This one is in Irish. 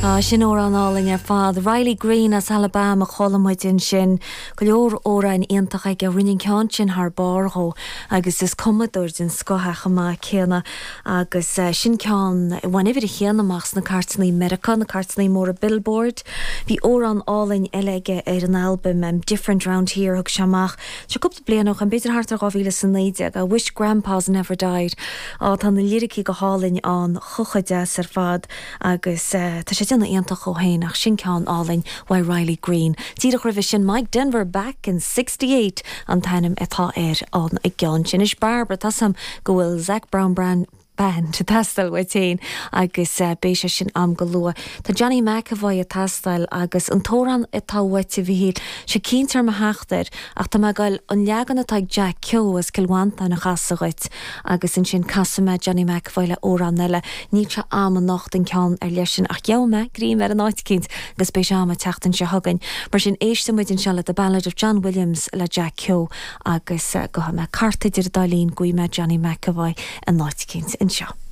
Á, sin amhrán álainn ar fad. Riley Green as Alabama a chuala muid ansin. Go leor amhráin iontach aige. Rinne an ceann sin thar barr dhó agus is cumadóir den scoth é chomh maith céanna. Agus sin ceann a bhain uimhir a haon amach sna cairteanna i Meiriceá, na cairteanna móra Billboard. Bhí amhrán álainn eile aige ar an albam Different Round Here a thug sé amach seo cúpla bliain ó shin, b'fhéidir thart ar 2019, I Wish Grandpas Never Died. Á, tá na liricí go hálainn ann, chomh chomh deas ar fad. Agus tá sé ag déanamh iontach dhó féin ach sin ceann álainn uaidh Riley Green. Díreach roimhe sin Mike Denver Back in 68 an t-ainm atá ar an gceann sin. Anois Barbara, tá 's a'm go bhfuil Zac Brown Band ag teastáil uait féin agus beidh sé sin a'm go luath. Tá Johnny McEvoy ag teastáil agus an t-amhrán atá uait a Mhichíl, sé cinnte orm a theacht air ach tá mé ag goil an leagan atá ag Jack Keogh as Cill Mhantáin a chasadh dhuit. Agus ansin casfaidh mé Johnny McEvoy le amhrán eile. Níl sé a'm anocht an ceann ar leith sin ach gheobhaidh mé greim air in áit eicínt agus beidh sé a'm an tseachtain seo chugainn. Mar sin éistfidh muid anseo le The Ballad of John Williams le Jack Keogh agus gabhfaidh mé cairt idir an dá linn, gheobhaidh mé Johnny McEvoy in áit eicínt anseo.